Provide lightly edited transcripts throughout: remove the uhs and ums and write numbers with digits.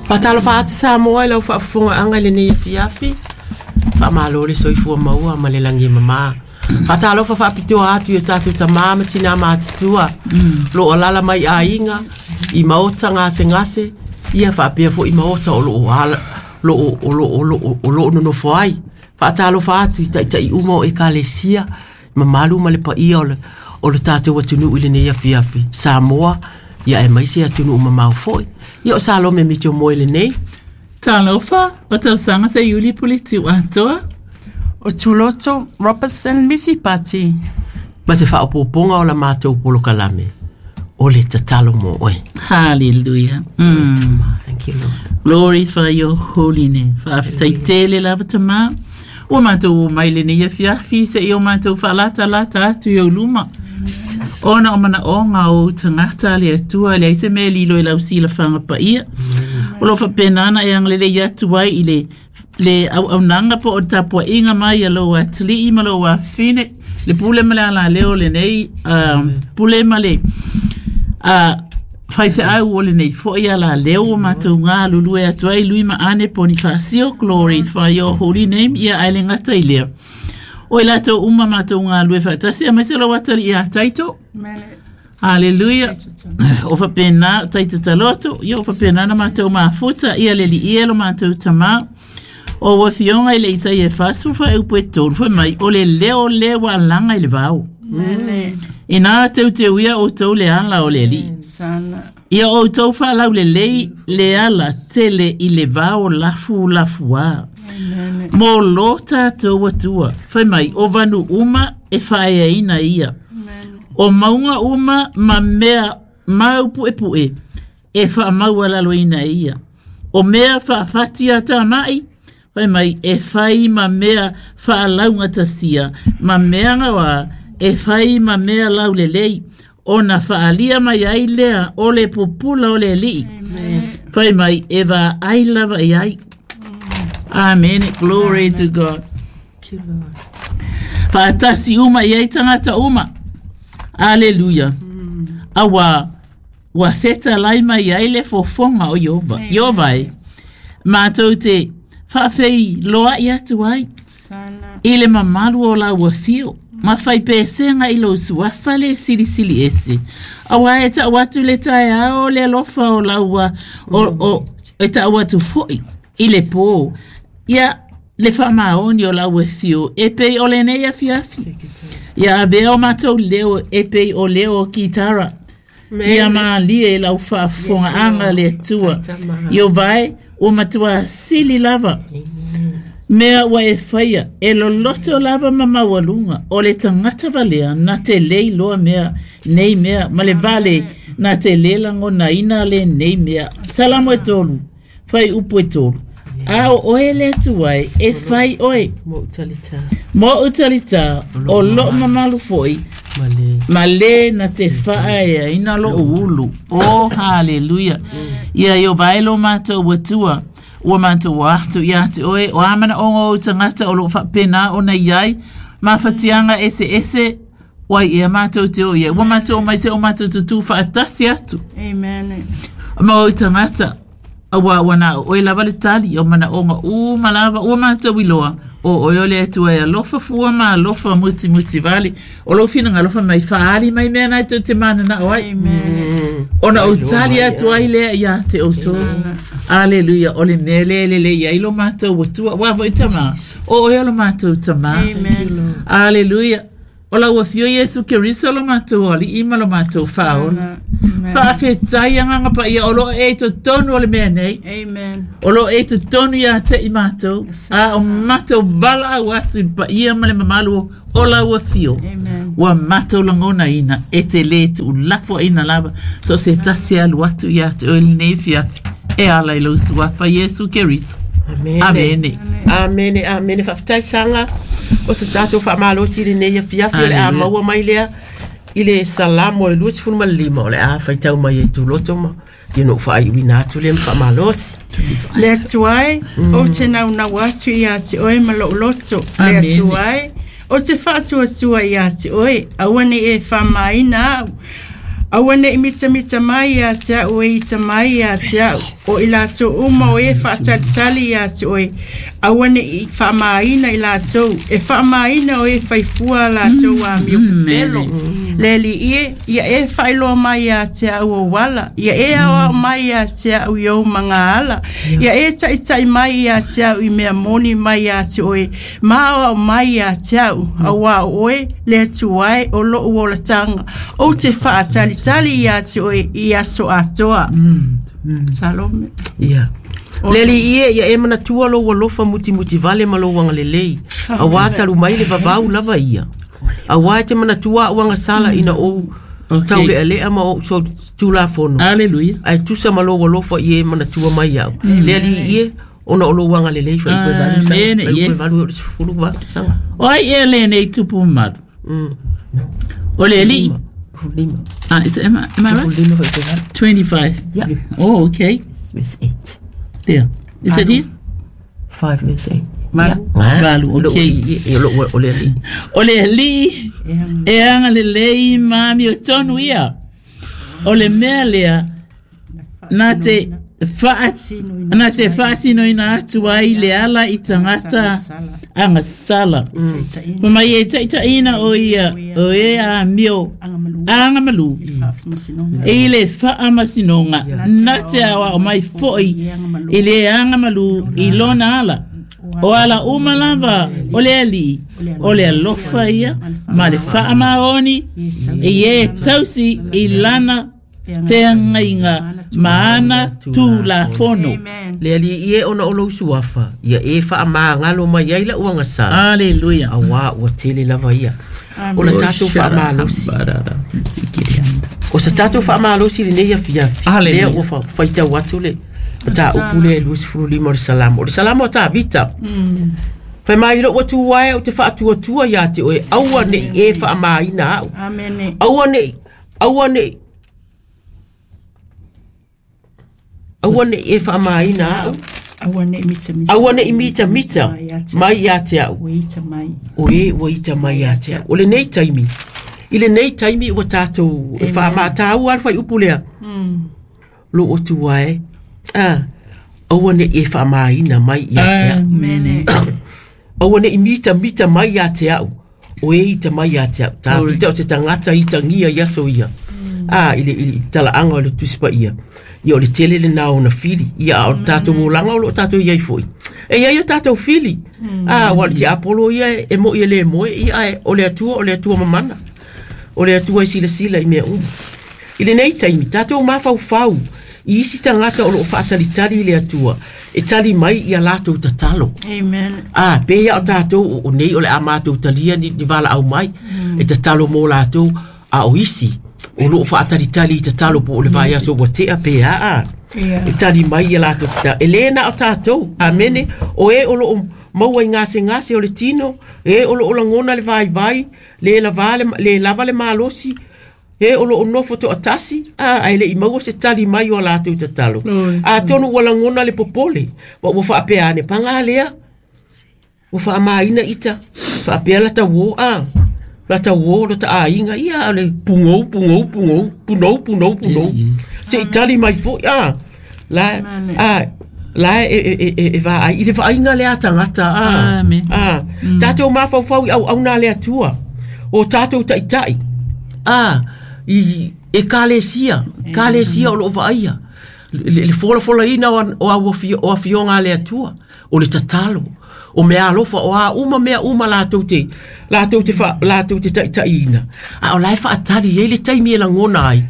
Faatalofa atu Samoa i lau faafofogaaga i lenei afiafi. Faamalo le soifua maua ma le lagi e mama. Faatalofa faapitoa atu i o tatou tama ma tina matutua o lo o alaala mai i aiga, i maota gasegase, ia faapea foi maota o lo o ala, lo o, o lo o, o lo o, o lo o nonofo ai. Faatalofa atu i taitai uma o Ekalesia, mamalu ma le paia o le, o le tatou atunuu i lenei afiafi, Samoa, ia aemaise atunuu mamao foi. Ia o Salome Mitchell Moe lenei. Talofa, o tausaga se Iuli Pulitiu atoa. O Tuloto Robertson Misi Pati. Ma se faaopoopoga o la matou polokalame, o le tatalo mo oe. Hallelujah. Mm. Thank you, Lord. Glorify your holy name. Faafetai tele lava Tama. Ua matou o mai lenei afiafi se i o matou faalatalata atu i ou luma. Ona o manaoga o ou tagata le Atua, leai se mea e lilo i lau silafaga paia. O lo o faapena ona e agalelei atu ai i le le auaunaga po o le tapuaiga mai a lou atalii ma lou afafine, le pule ma le alaleo o lenei pule ma le faifeau o lenei foi alaleo ua matou galulue atu ai Lui ma Ane Ponifasio, glorify your holy name, ia ae le gata i lea. O i latou uma matou galulue faatasi, aemaise lou atalii ia Taito. Haleluia. O faapena Taito Taloto, ia o faapena na matou mafuta, ia le alii e lo matou tama. O ua afioga i le Isaia e 40 faaiupu e 3, fai mai, o le leo lea ua alaga i le vao. Ina teuteuia outou le ala o le Alii. Ia outou faalaulelei le ala tele i le vao lafulafuā. Mo lo tatou Atua. Fai mai, o vanu uma e faaeaina ia. O mauga uma ma mea mau puepue e faamaualaloina e ia. O mea faafati a tamai, fai mai, e fai ma mea faalaugatasia, ma mea gaoa e fai ma mea laulelei, ona faaalia mai ai lea o le pupula o le Alii. Fai mai, e vaai lava i ai. Amen. Glory to God. Faatasi uma i ai tagata uma. Aleluia. Auā, ua fetalai mai ai le fofoga o Ieova. Ieova e, matou te faafeiloai atu ai i le mamalu o lau afio ma fai pesega i lou suafa le silisili ese. Auā e tau atu le taeao le alofa o lau, o, o, e tau atu foi i le pō. Ia, le faamaoni o lau afio e pei o lenei afiafi. Ia avea o matou leo e pei o leo o kitara. Ia malie i lau faafofogaaga le Atua. Ieova e, ua matua sili lava. Mea ua e faia, e loloto lava ma maualuga, o le tagata valea na te le iloa mea nei mea, ma le vale na te le lagonaina lenei mea. Salamo e tolu. Fuaiupu e tolu. A o oe le Atua e, e fai oe. Moʻu talitā. Moʻu talitā, o loʻu mamalu foi, ma le na te faaeaina loʻu ulu. Oh, haleluia. Ia Ieova e lo matou Atua, ua matou atu ia te oe, o a manaoga o ou tagata o lo o faapena ona i ai, mafatiaga eseese, Wai ea matou te o i ai. Ua matou omai se o matou tutū faatasi atu. Amen. Ma ou tagata, auā ua na o oe lava le tali o manaoga uma lava ua matou iloa, o oe o le Atua e alofa fua ma alofa mutimuti vale. O lou finagalo fai mai, faaali mai mea na e tou te mananao ai. Amen. Ona ou tali atu ai lea ia te outou. Aleluia, o le mea lea e lelei ai lo matou Atua. Aua foi Tama, o oe o lo matou Tama. Amen. Aleluia. O lau Afio Iesu Keriso lo matou Alii ma lo matou Faaola. Faafetai Agaga Paia o lo o e i totonu o le mea nei. Amen. O lo o e i totonu ia te i matou. A o matou valaau atu i le paia ma le mamalu o lau Afio. Amen. Ua matou lagonaina e te le tuulafoaiina lava so o se tasi e alu atu ia te oe i lenei afiafi e ala i lou Suafa Iesu Keriso. Amene. Amene. Amene, amene. Faafetai Saga o se tatou faamalosi i lenei afiafi o le a Hallelujah. maua mai lea i le Salamo e 25 o le a faitau mai ai Tuloto ma ia ona ou faaiuina atu lea ma faamalosi. Le Atua e, ou te naunau atu ia te oe ma lou loto. Le Amene. Atua e, ou te faatuatua ia te oe, aua ne i e faamāina au. Aua ne'i mitamita mai ia te a'u e ita mai ia te a'u, o i latou uma o e fa'atalitali iā te oe, aua ne'i fa'amāina i latou, e fa'amāina o e faifua a latou amio pepelo. Le Alii e, ia e fa'ailoa mai iā te a'u ou ala, ia e aoao mai iā te a'u i ou magaala, ia e ta'ita'i mai iā te a'u i mea moni mai iā te oe, ma aoao mai iā te a'u, auā o oe le Atua e o lo'u olataga, ou te fa'atalitali iā te oe i aso atoa. Salome. Ia. Le Alii e, ia e manatua lou alofa mutimuti vale ma lou agalelei, auā talu mai le vavau lava ia. Auā e te manatua a'u agasala ina ou taulealea ma ou solitulafono, Aleluia. ae tusa ma lou alofa i e manatua mai a'u. Le Alii e, ona o lou agalelei faaiu e valu saga, Amene, faaiu e yes. valu e o le 18 saga. O ai ea lenei tupu mamalu? O le alii. 15. Ah, is it, am I right? 15 faaiu e valu. 25. Yeah. Oh, okay. Verse 8. There. Is it here? 5 verse 8. Valu. Valu, okay. Ia, lou o le Alii. O le alii e agalelei ma amiotonu ia. O le mea lea na te wha na te whaasinoina atu ai le ala i tangata agasala. Pa mai e taitaina o ia o e a mio agamalu i le faamasinoga na te aoao mai fo'i i le agamalu i lona ala. O ala uma lava o le alii, o le alofa ia ma le faamaoni i e tausi i lana feagaiga ma ana tulafono. Amen. Le Alii e ona o lou suafa, ia e faamagalo mai ai la'u agasala, Aleluia. auā ua tele lava ia. O le tatou faamalosi. O sa tatou faamalosi lenei afiafi, Hallelujah. lea ua faitau atu le mataupu lea e 25 o le Salamo. O le Salamo a Tavita. Fai mai lou Atua e ou te fa'atuatua iā te oe, aua ne'i e fa'amāina a'u. Amene. Aua ne'i, aua ne'i, aua ne'i e fa'amāina a'u, Aua ne'i mitamita. aua ne'i mitamita mai iā te a'u. Ua ita mai. O e ua ita mai iā te a'u. O lenei taimi, i lenei taimi ua tatou e fa'amātāua le faiupu lea. Lou Atua e, aua ne'i e fa'amāina mai iā te a'u. Amene. Aua ne'i mitamita mai iā te a'u, o e ita mai iā te a'u. Tavita o se tagata itagia i aso ia. A, i le tala'aga o le Tusi Pa'ia. Ia o le tele lenā ona fili. Ia a o le tatou olaga o lo'o tatou iai fo'i. E iai o tatou fili. A, ua o le tiapolo ia e mo'i e lē moe, ia ae o le Atua, o le Atua mamana. O le Atua e silasila i mea uma. I lenei taimi, tatou mafaufau i isi tagata o lo'o fa'atalitali i le Atua, e tali mai ia latou tatalo. Amen. A, pe ia o tatou o nei o le a matou talia ni valaau mai, e tatalo mo latou, a o isi, o loo fa'atalitali i tatalo po o le vaiaso ua te'a pe a. Ia. E tali mai ia latou tatalo. E lē na o tatou, amene, o e o loo maua i gasegase o le tino, e o loo lagona le vaivai, lē lavā le, lē lava le malosi, e o loo nofo to'atasi, a, ae le'i maua se tali mai o a latou tatalo. Atonu ua lagona le popole, ma ua fa'apea ane, pagā lea, ua fa'amāina ita, fa'apea lata uō a, lata uō lota aiga, ia o le pugou, pugou, pugou, punou, punou, punou, se'i tali mai fo'i a, la, a, la e, e, e, e, e vaai, i le va'aiga lea a tagata a, Amen. a, tatou mafaufau i auauna a le Atua, o tatou ta'ita'i, a, i ekalesia, ekalesia o lo'o va'aia, le folafolaina o o afioga a le Atua, o le tatalo, o mea alofa, o a uma mea uma latou te, latou te, fa, latou te ta'ita'iina, a o la e fa'atali ai le taimi e lagona ai,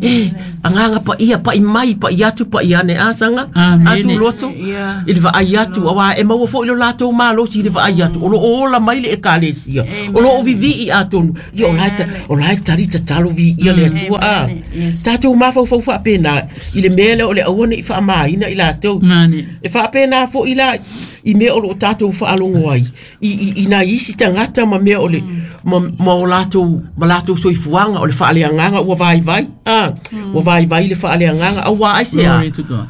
e, agaga pa'ia, pa'i mai, pa'i atu, pa'i ane, a saga, Amene. atu loto, Ia. i le va'ai atu, auā e maua fo'i lo latou malosi i le va'ai atu, o loo ola mai le ekalesia, o loo vivi'i atonu, ia o la e o la e tali tatalo vi'ia le Atua a. Amen. Yes. Tatou mafaufau fa'apena, i le mea lea o le aua ne'i fa'amāina i latou. Mane. E fa'apena fo'i la i mea o loo tatou fa'alogo ai, i nai isi tagata ma mea o le, ma o latou, ma latou soifuaga, o le fa'aleagaga ua vaivai, a, ua vaivai le fa'aleagaga, auā ai se a. Glory to God.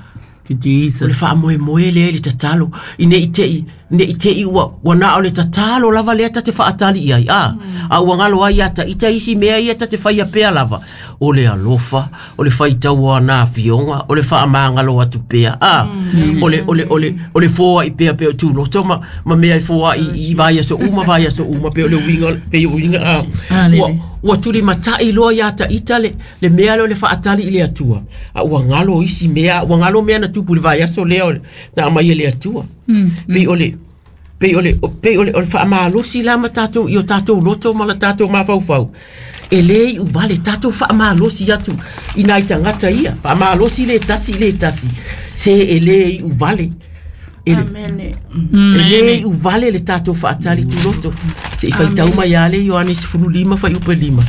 You, Jesus. O le faamoemoe lea i le tatalo, i ne i te i, ne i te i ua, ua na o le tatalo lava lea ta te faatali i ai, a, a ua galo ai ia ta ita isi mea ia ta te faia pea lava, o le alofa, o le faitau o ana afioga, o le faamagalo atu pea, a, o le, o le, o le, o le foai pea pea o tuloto ma, ma mea e foai i vaiaso uma, vaiaso uma, pei o le uiga, pei o uiga, a, ua, ua tulimatai loa ia ta ita le, le mea lea o le faatali i le Atua, a ua galo isi mea, ua galo mea na tupu i le vaiaso lea o na aumai e le Atua. Pei o le pei o le pei o le, o le faamalosi la ma tatou i o tatou loto ma la tatou mafaufau. E le iu vale tatou faamalosi atu i nai tagata ia, faamalosi le tasi i le tasi, se e le iu vale. E, Amene. e le iu vale le tatou faatali tuloto. Se i faitau mai lava le Ioane 15 fuaiupu 5.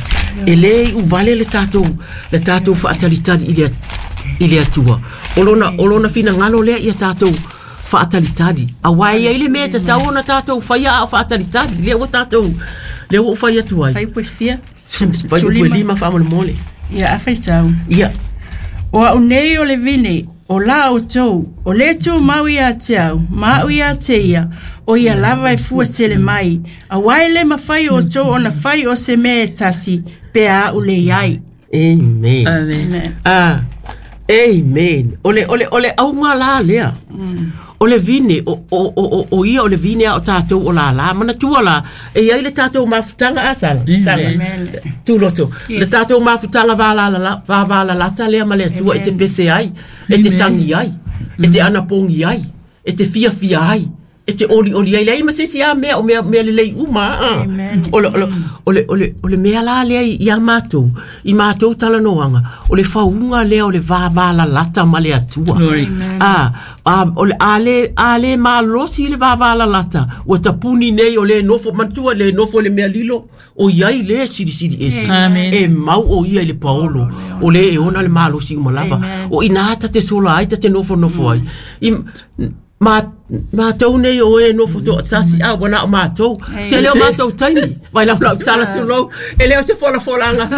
E le iu vale le tatou, le tatou faatalitali i le, i le Atua. O lona, o lona finagalo lea ia tatou faatalitali. Aua e i ai le mea e tatau ona tatou faia a o faatalitali. Lea ua tatou, lea ua ou fai atu ai. Fuaiupu e fia? Fuaiupu e 5 faamolemole. Ia, a faitau. Ia. O au nei o le vine, o la outou, o le tumau ia te au, ma au ia te ia, o ia lava e fua tele mai, auā e le mafai outou ona fai o se mea e tasi, pe a au le i ai. Amen. Amen. Ah, amen. O le, o le, o le auga la lea. O le vine, o, o, o, o, o ia o le vine a o tatou o lālā. Manatua la, e i ai le tatou mafutaga a Sala. Sala. Amen. Tuloto. Le tatou mafutaga vavalalata lea ma le Atua e te pese ai, e te tagi ai, e te anapogi ai, e te fiafia ai, e te olioli ai. Leai ma se isi lava mea, o mea, mea lelei uma a. Amen. O le, o le, o le, o le, o le mea la lea ia matou, i matou talanoaga, o le fauga lea o le vavalalata ma le Atua. Glory. A, a, o le, a le, a le malosi le vavalalata, ua tapuni nei o le nofo, manatua le nofo i le mea lilo, o i ai le silisili ese. Amen. E mau o ia i le paolo, o le e ona le malosi uma lava. O ina ta te sola ai, ta te nofonofo ai. I, ma, matou nei o e nofo toatasi, a ua na o matou. Tele o matou taimi, vai lau lau tala tulou, e le o se folafolanga,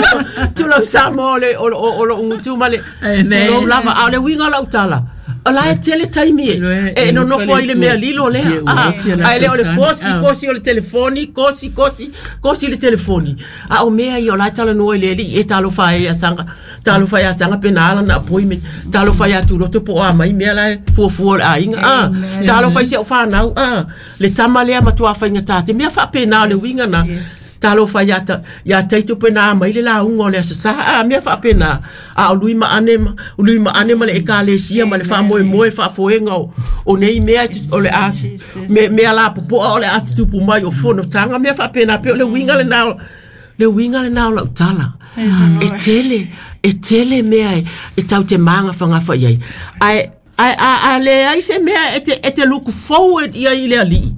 tulou Samoa o le, o, o, o lou gutu ma le, Amen. tulou lava, a o le uiga o lau tala, o la e tele taimi e, e nonofo ai le mea lilo lea, a, a e le o le kosi, kosi o le telefoni, kosi, kosi, kosi le telefoni. A o mea ia o la e talanoa i le alii, e talofa e ia Saga, talofa ia Saga pe na ala na appointment, talofa ia Tuloto po o a mai mea la e fuafua o le aiga, a, talofa i si au whanau, a, le tama lea matua faigata te mea faapena o le uiga na, talofa ia ta, ia Taito pe na mai le lauga o le Aso Sa, a, mea faapena, a o lui ma ane ma, o lui ma ane ma le ekalesia ma le faamoemoe faafoega o, o nei mea o le a, me, mea la popoa o le a tutupu mai o fonotaga, mea faapena, pe o le uiga lena o, le uiga lena o lau tala. E tele, e tele mea e, e tau te magafagafa i ai. Ae, ae a, a leai se mea e te, e te look forward i ai i le alii.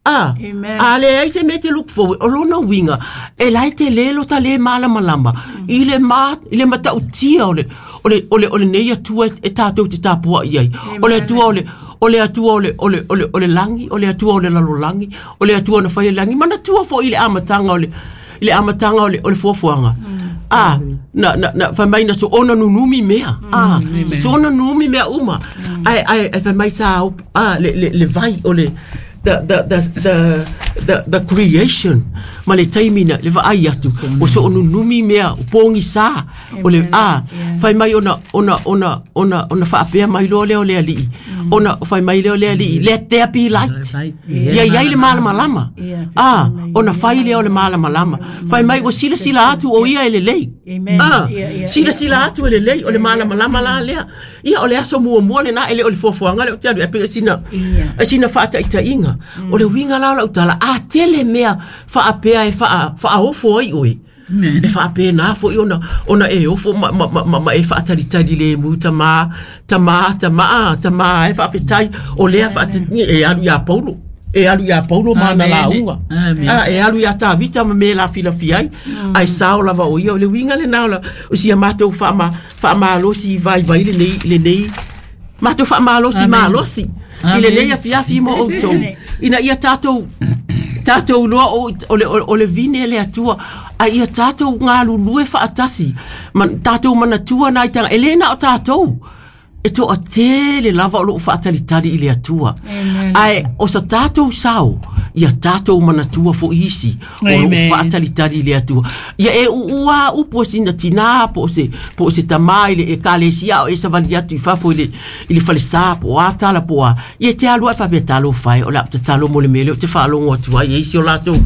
A, Amen. a leai se mea e te look forward, o lona uiga, e la e tele lo ta le malamalama, i le, ma, i le matautia o le, o le, o le, o lenei Atua e, e tatou te tapuai ai. O le Atua o le, o le Atua o le, o le, o le, o le lagi, o le Atua o le lalolagi, o le Atua na fai le lagi. Manatua foi i le amataga o le, i le amataga o le, o le fuafuaga. A, na, na, na fai mai na soona nunumi mea. A, soona nunumi mea uma. Ae, ae, ae fai mai sa, a, le, le, le vai o le, the, the, the, the, the, the creation ma le taimi na le vaai atu o so nunumi mea o pogisa o le a fai mai ona ona ona ona ona faapea mai loa lea o le alii ona fai mai lea o le alii let there be light ia i ai le malamalama a ona fai lea o le malamalama fai mai ua silasila atu o ia e lelei Amen. a Yeah, yeah, silasila atu e lelei o le malamalama la lea ia o le aso muamua lena e le o le fuafuaga lea ou te alu ai pei o sina Yeah. e sina faataitaiga o le uiga la o lau tala a tele mea faapea e faa faaofo ai oe e faapena foi ona ona e ofo ma ma ma, ma, ma e faatalitali le mu tama tama tama a tama e faafetai o lea faate e alu ia Paulo e alu ia Paulo ma ana Amen. lauga Amen. a e alu ia Tavita ma me la filafia ai ai sao lava o ia o le uiga lena o la o sia matou faama faamalosi vaivai lenei lenei matou faamalosi Amen. malosi i lenei afiafi mo outou ina ia tatou tatou loa o, o, le, o, o le vine le Atua a ia tatou galulue faatasi ma, tatou manatua nai tanga e le na o tatou. E toatele lava o loo faatalitali i le Atua. Ae o sa tatou sao, ia tatou manatua foʻi isi o loo Amen. faatalitali i le Atua. Ia e uua upu a sina tinā po o se tamā i le ekalesia o e savali atu i fafo i le falesā po o a tala po o a. Ia te alu ae faapea talofa e o le a ou tatalo mo le mea lea ou te faalogo atu ai e isi o latou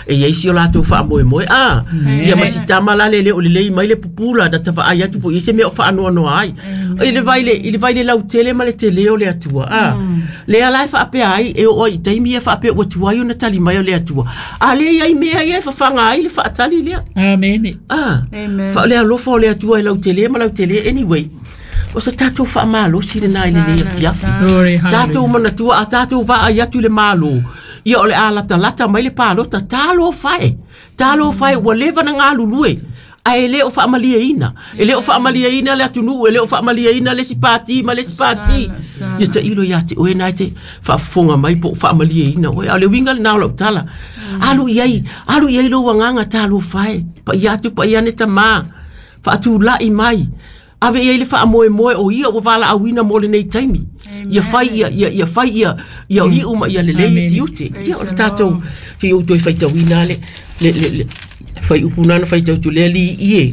e i ai isi o latou faamoemoe a. Ia ma si tama la le le o lelei mai le pupula na tavaai atu po o i ai se mea o faanoanoa ai. I le vai le i le vai le lautele ma le telē o le Atua a. Lea la e faapea ai e oo ai i taimi ia faapea ua tuai ona tali mai o le Atua. A le i ai mea ia e fafaga ai le faatali lea. Amene. Ah, Amen. fa o le alofa o le Atua e lautele ma lautele anyway. O sa tatou faamalosi lenā i lenei afiafi. Glory, Tatou hallelujah. manatua a tatou vaai atu i le Malo, ia o le a latalata mai le palota, talofa e. Talofa e, ua leva na galulue. Ae le o faamalieina. E le o faamalieina le atunuu, e le o faamalieina le isi pati ma le isi pati. Sana, Ia tailo ia te oe na e te faafofoga mai po o faamalieina oe. A o le uiga lenā o lau tala. Alu i ai, alu i ai lou agaga talofa e. Paia atu paia ane tamā. Faatulai mai. Ave i ai le faamoemoe o ia ua valaauina mo lenei taimi. Ia fai ia ia ia fai ia ia iu ma ia lelei Amen. tiute. Ia o le tatou te ou toe faitauina le le le, le fai upu nana faitau tu lea li ie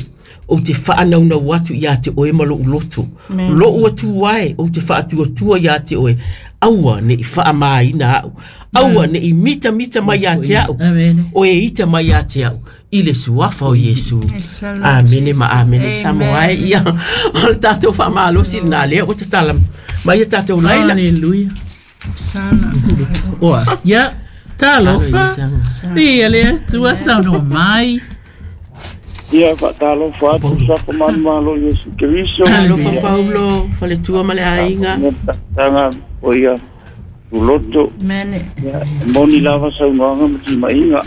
ou te faanaunau atu ia te oe ma lou loto. Lou atu ai ou te faatuatua ia te oe. Aua ne i faamaina au. Aua ne i mita mita mai ia te au. Amen. O e ita mai ia te au. I le suafa o Iesu. Amene ma amene. Samoa ai ia. O le tatou faamalosi lenā lea ua tatala mai ia tatou laila. Hallelujah. Sana. Oa, ia, talofa. Ia le Atua saunoa mai. Ia faatalofa atu safa manumalo Iesu Keriso. Alofa Paulo, faletua ma le aiga. Tanga o ia uloto. Amen. Ia moni lava saunoaga ma timaiga.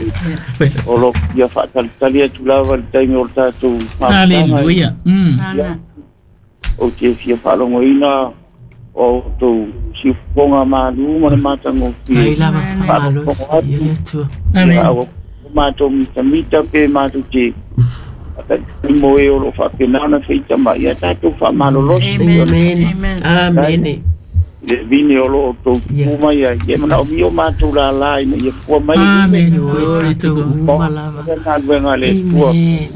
O lo ia faatalitali atu lava le taimi o le tatou mafutaga. Hallelujah. Sana. Ou te fia faalogoina o outou siufofoga malu ma le matagofie. Ai lava faamalosi ia le Atua. Amen. Ia ua matou mitamita pe matou te faatalitali mo e o loo faapena ona feita mai ia tatou faamalolosi. Amen. Amen. Amen. Amene. Le vine o loo outou Ia. tupu mai ai e manaomia o matou lalā ina ia fua mai Amen. Oe Glory to tatou God. uma lava. le galuega a le Atua Amen.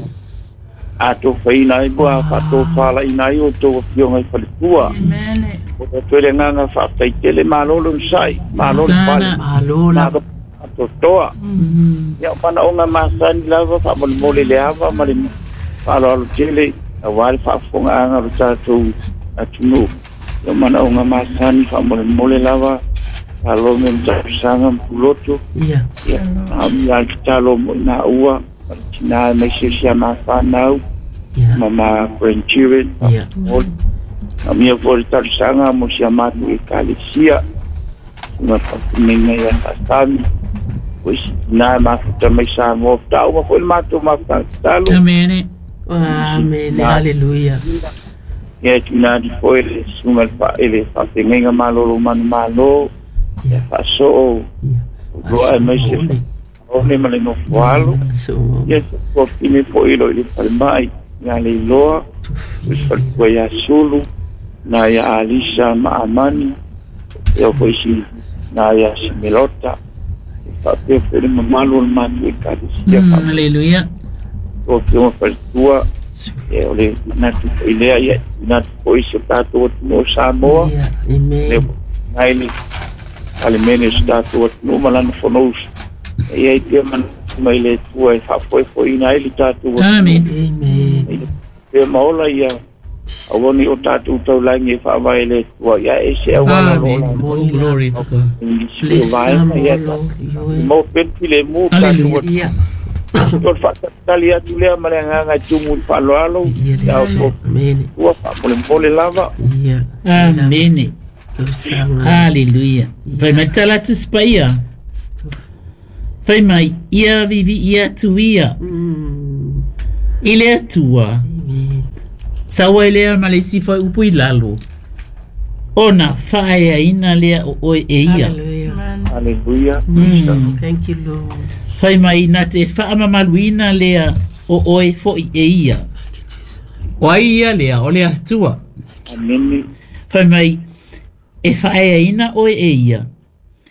atofaina ai ua faatofalaiina ai outou afioga i faletua. Amen. O tatou le agaga faafetaitele malo le onosai, malo le pale, Sana. Malo lava. malo faatoatoa. Ia o manaoga masani lava faamolemole le ava ma le faaaloalo tele auā le faafofogaaga o le tatou atunuu. Ia o manaoga masani faamolemole lava talo me matausaga ma puloto. Ia. Ia naomia le tatalo mo i naua ma le tinā e maise o sia mafanau Ia. ma ma grandchildren. Ia. Naomia foi le talosaga mo sia matou ekalesia ma faafinaiga ia faasami o isi tinā e mafuta mai Samoa taua foi le matou mafutaga tatalo. Amen. Amene. Hallelujah. Ia e tuuina atu foi le susuga i le faafegaiga malolo manumalo ia faasoo Ia. loa e maise one ma le nofoalo. So. Ia tuafine foi lo i le falemai ia Leiloa, o se faletua ia Sulu, na ia Alisa ma Amani, ia foi si na ia Simelota. E faapea foi le mamalu o le matou ekalesia Hallelujah. faapea afioga faletua. Ia o le manatu foi lea ia tuuina atu foi si o tatou atunuu o Samoa. Ia. Amen. Le nai le Palemene o si tatou atunuu ma lana fonousu. E i ai pea manatu mai le Atua e faafoefoeina ai le tatou atunuu. Amen. Amen. Pea maola ia aua nei o tatou taulagi e faavae le Atua ia e se auala o loo Amen. Oh, glory to God. Bless vaega Samoa, ia Lord. Ioe. mo pele mo tatou Hallelujah. Ia. atunuu. O le faatalitali atu lea ma le agaga e tumu i le faaaloalo Ia le ia Atua. Amene. ua faamolemole lava. Ia. Amene. Tausaga. Hallelujah. Fai mai tala atu se paia. Fai mai ia vivi ia tu ia. I le Atua. Amen. Saua i lea ma le isi foi upu i lalo. Ona faaeaina lea o oe e ia. Hallelujah. Hallelujah. Thank you, Lord. Fai mai na te faamamaluina lea o oe foʻi e ia. O ai ia lea o le Atua. Amene. Fai mai, e faaeaina oe e ia,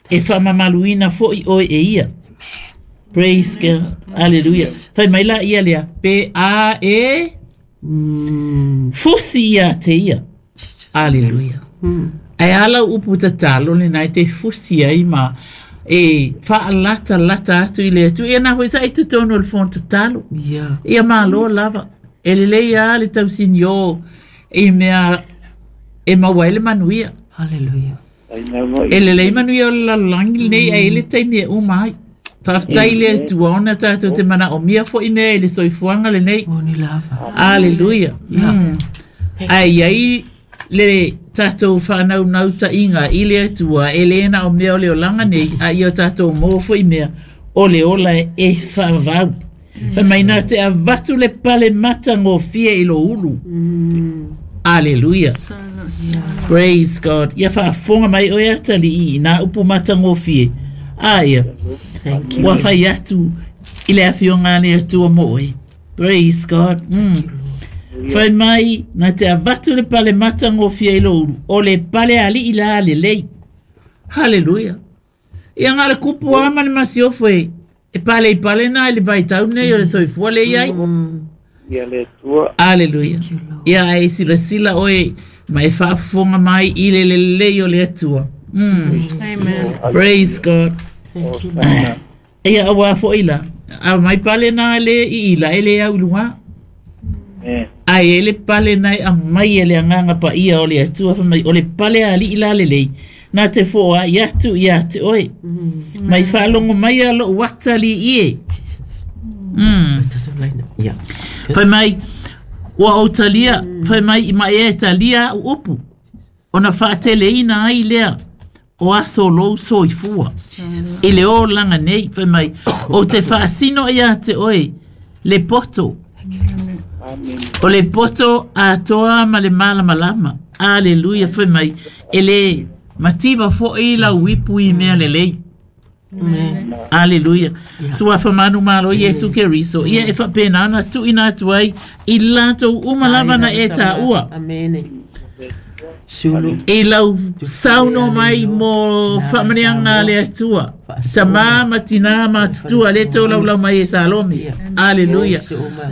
e faamamaluina foʻi oe e ia. Praise God. Hallelujah. Fai mai la ia lea, pe a e fusi ia te ia. Hallelujah. Ae a lau upu tatalo lenā e te fusi ai ma e faalatalata atu i le Atua. Ia na foi sa i totonu o le fono tatalo. Ia. Ia malo lava. E lelei lava le tausinio i mea e maua ai le manuia. Hallelujah. E lelei manuia o le lalolagi lenei ae i ai le taimi e uma ai. Faafetai i le Atua ona tatou te manaomia foi mea i le soifuaga lenei. Moni lava. Aleluia. Ae i ai le tatou faanaunautaiga i le Atua e le na o mea o le olaga nei, a ia o tatou maua foi mea o le ola e faavavau. Fai mai na te avatu le pale matagofie i lou ulu. Aleluia. Praise God. Ia faafofoga mai oe atalii i nā upu matagofie. A ia. Thank you. Ua fai atu i le afioga a le Atua mo oe. Praise God. Fai mai na te avatu le pale matagofie i lou ulu. O le pale alii la lelei. Hallelujah. Ia na o le kupu lava ma le masiofo e e pale i pale na i le vaitau nei o le soifua lea e i ai. Ia le Atua. Aleluia. Ia ae silasila oe ma e faafofoga mai i le lelei o le Atua. Amen. Praise God. Thank you. Ia auā foi la, a mai pale na le i ila e le au i luga. Amen. Ae i ai le pale na e aumai e le Agaga Paia o le Atua fai mai, o le pale a alii la lelei, na te foai atu ia te oe. Mai faalogo mai a lou atalii e. Ia. Fai mai, ua ou talia, fai mai, ma ea e talia au upu, ona faateleina ai lea o aso o lou soifua. I le olaga nei, fai mai, ou te faasino ia te oe le poto. Amen. O le poto atoa ma le malamalama. Aleluia, fai mai, e le mativa foi lau ipu i mea lelei. Aleluia. Suafa manumalo Iesu Keriso. Ia e faapena ona tuuina atu ai i latou uma lava na e taua. Amene. Sulu. I lau saunoa mai mo faamanuiaga a le Atua. Tamā ma tinā ma tutua le tolaulau mai e Salome. Aleluia.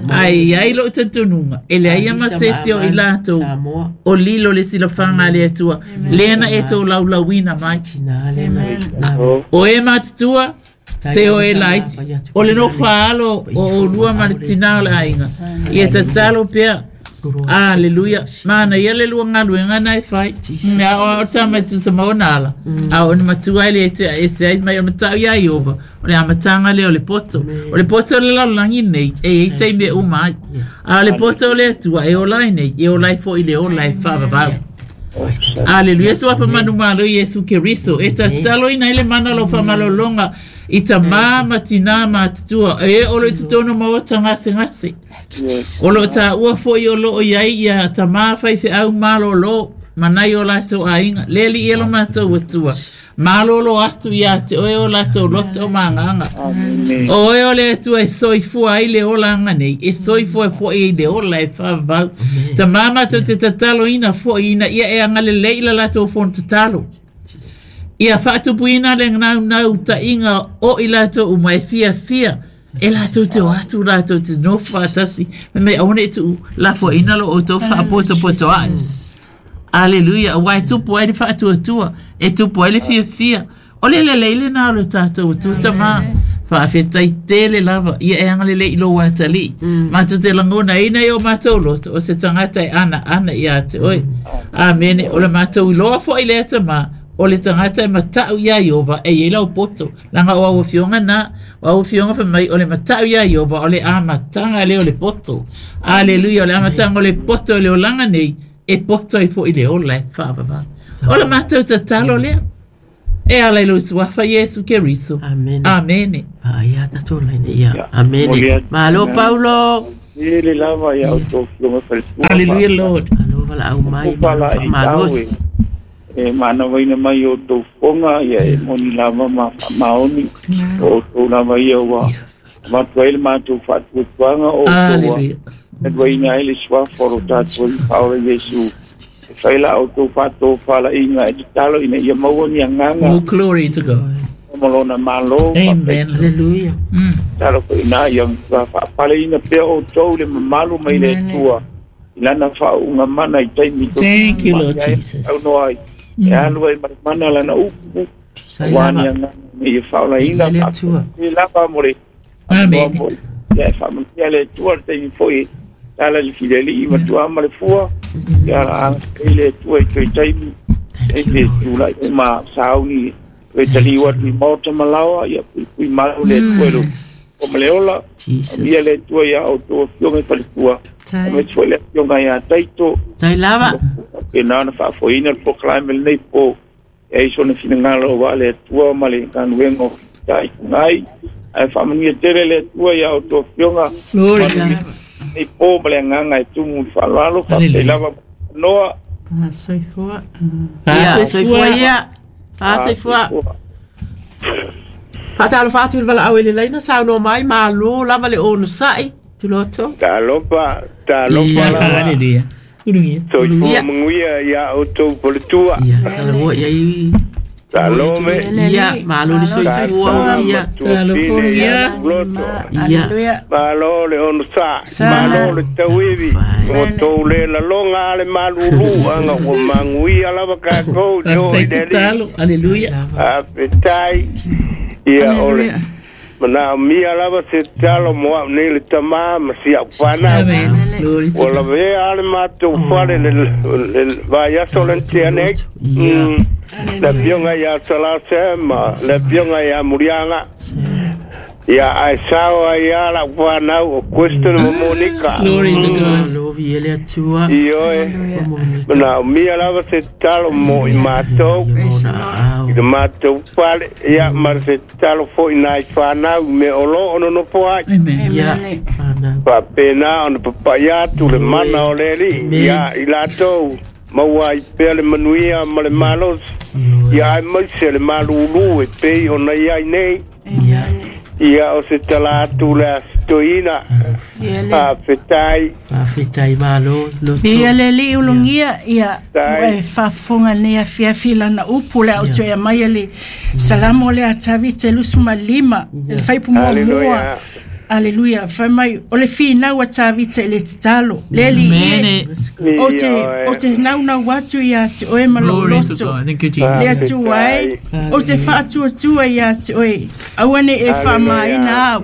Ae i ai lou talitonuga, e leai ma se isi o i latou Samoa. o lilo le silafaga a le Atua, lea na e tolaulauina mai. Tina le na. O e matutua, se o e laiti. O le nofo a alo o oulua ma le tinā o le aiga. Ia tatalo pea. Aleluia. Manaia le lua galuega na e fai. Mea o ao tama e tusa ma ona ala. A o ni matua ai le te ese ai mai o matau ia Iova. O le amataga lea o le poto. O le poto o le lalolagi nei, e i ai taimi e uma ai. A o le poto o le Atua e ola ai nei, e ola ai foi le ola e faavavau. Aleluia, suafa manumalo Iesu Keriso. E tataloina ai le mana o lau faamalologa i tamā ma tinā matutua e o lo o i totonu o maota gasegase. O lo o taua foi o lo o i ai ia tamā faifeau malōlō ma nai o latou aiga. Le alii e lo matou Atua. Malōlō atu ia te oe o latou loto ma agaga. Amen. O oe o le Atua e soifua ai le olaga nei, e soifua foi i le ola e faavavau. Tamā matou te tataloina foi ina ia e agalelei i la latou fono tatalo. Ia faatupuina le naunautaiga o i latou uma e fiafia e latou te o atu latou te nofo faatasi. Fai mai aua ne i tuu lafoaiina lo outou faapotopotoai. Aleluia, auā e tupu ai le faatuatua, e tupu ai le fiafia. O le lelei lenā o le tatou Atua tamā. Faafetai tele lava, ia e agalelei i lou atalii. Matou te lagonaina i o matou loto, o se tagata e anaana ia te oe. Amene, o le matou iloa foi lea tamā, o le tagata e matau iā Ieova e i ai lau poto. Leaga o au afioga na, o au afioga fai mai o le matau iā Ieova o le amataga lea o le poto. Aleluia, o le amataga o le poto i le olaga nei, e poto ai foi le ola e faavavau. O le matou tatalo lea. E ala i lou suafa Iesu Keriso. Amene. Amene. Paia tatou laina ia. Ia. Amene. Momoli atu. Malo Paulo. Tele lava ia outou afioga faletua. Hallelujah, Lord. Malo valaau mai. O pala Malo i tau faamalosi. e manavaina mai o outou fofoga, ia e moni lava ma faamaoni. O outou lava ia ua avatu ai le matou faatuatuaga o outou ua Hallelujah. taluaina ai le suafa o lo tatou Alii Faaola Iesu. E Fai la outou faatofalaiga e tatalo ina ia maua ni agaga Oh, glory to God. Ma lona malo. Amen. Hallelujah. Tatalo foi ina ia faapaleina pea outou le mamalu mai le Atua i lana faauuga mana i taimi. Thank you, Lord Jesus. Aunoa ai e alu ai ma le mana lana upu ua ni agaga ina ia faaolaina Le Atua. e lava mo le Amen. ia e faamanuia le Atua le taimi foi tala le fileli'i matua ma le fua ia agai le Atua i toe taimi e tula'i ai ma sauni toe taliu atu i maota ma laoa ia puipui malu le Atua i lo o ma le ola Jesus. ia le Atua iā outou afioga i faletua aemaise foi le afioga iā Taito Tai lava. pena ona faafoeina le polokalame lenei po e ai sona finagalo auā le Atua ma le galuega o fitaitugai ae faamanuia tele le Atua iā outou afioga Glory to God. nei po ma le agaga e tumu i le faaaloalo faafetai lava noa. Soifua. Ia, soifua ia. Ah, soifua. Faatalofa atu i le valaau i le laina saunoa mai malo lava le onosai. Tuloto. Talofa, talofa Ia. lava. Hallelujah. Hallelujah. Soifua Ia. manuia ia outou faletua. Ia, talanoa ia i. Salome. Ia, malo le soifua ia. Tuafine ia Loto. Ia. Aleluia. Malo le ono sa, Sa. malo le tauivi, o tou le lalonga ale malulu, anga ua maguia lava kakou i o i Faafetai le Alii. tatalo. Hallelujah. Faafetai, ia o le Aleluia. manaomia lava se tatalo mo au nei le tamā ma si au fanau. Amen. Glory to Ua God. lavea a le matou fale le vaiaso le tea nei. Ia. Le afioga iā Salase ma le afioga iā Muliaga. Ia ae sao ai a lau fanau o Kristen ma Monica. Glory to God. Malo vi le Atua. Ioe, manaomia lava se tatalo mo i matou Ia i le matou fale, ia ma se tatalo foi nai fanau me o loo nonofo ai. Amen. Ia. Amen. Ana. Faapena ona papaʻi atu le mana o le Alii ia i latou maua ai pea le manuia ma le malosi ia ae maise le malūlū e pei ona iai nei Ia. ia o se tala atu le asitoina faafetai. Faafetai malo loto. Ia le li ulugia ia Tai. e faafofoga nei afiafi lana upu le au toe mai le salamo le atavi te 25 le faipu muamua. Hallelujah. Aleluia. Fai mai o le finau a Tavita i le tatalo le li Amen. o te o te naunau atu ia te oe ma lou Glory to loto God. Thank you, Jesus. le atua ai o te faatuatua ia te oe aua ne e faamaina au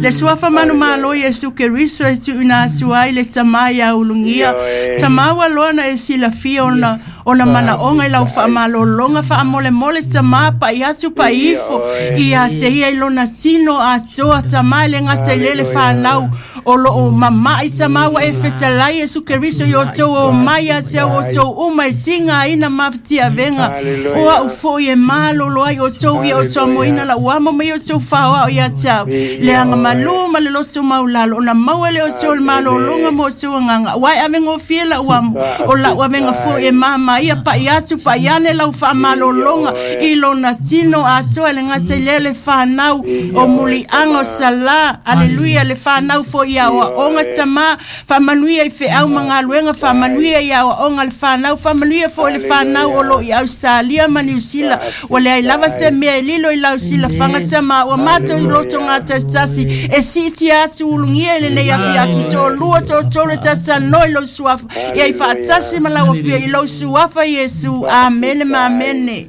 le suafa manumalo Iesu Keriso e tuuina atu ai le tamā ia ulugia Ioe. tamā ua loa na e silafia ona ona manaoga i lau faamalologa faamolemole tamā pa'i atu pa'i ifo ia te ia i lona tino atoa tamā e le gata i le le fanau o loo mama'i tamā ua e fetalai Iesu Keriso i outou o mai ia te au outou uma e tigaina mafatiavega o a'u fo'i e malolo ai outou ia outou amoina la'u amo ma ia outou faoa'o ia te au le agamalū ma le loto maulalo ona maua le outou le malologa ma outou agaga ua e avegofie la'u amo o la'u avega fo'i e mamaia pa'i atu pa'i ane lau faamalologa i lona tino atoa e le gata i lea le fanau o muliaga o salā aleluia le fanau fo'i ia aoaoga tamā faamanuia i feau ma galuega faamanuia i aoaoga le fanau faamanuia fo'i le fanau o loo i Australia ma Niusila ua leai lava se mea e lilo i lau silafaga tamā ua matou i loto gatasitasi e siitia atu ulugia i lenei afiafi toalua toatolu e tatatanoa i lou suafa ia i faatasi ma lau afia i lou suafa Iesu amene ma amene.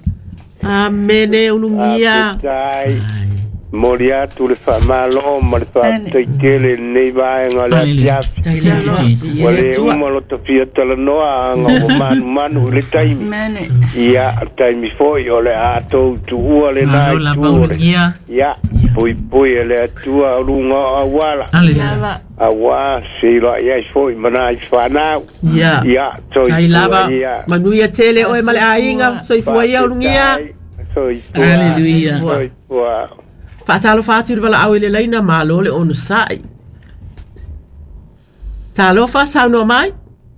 Amene ulugia. Faafetai moli atu le faamālō ma le faafetai tele i lenei vaega o le Hallelujah. afiafi. Thank you, Jesus. Ua lē uma lo tafia talanoa aga ua manumanu i le taimi Amene. ia taimi foi o le atou tuua lenā Malo i lava tu o le ulugia. ia puipui e le Atua o luga o auala Hallelujah. Lava. auā seiloaʻi ai foi ma nai fanau Ia. ia Tai lava. soifua ia Manuia tele oe ma le aiga. Soifua ia ulugia. Soifua. Hallelujah. Soifua. Faatalofa atu i le valaau i le laina malo le onosai. Talofa saunoa mai.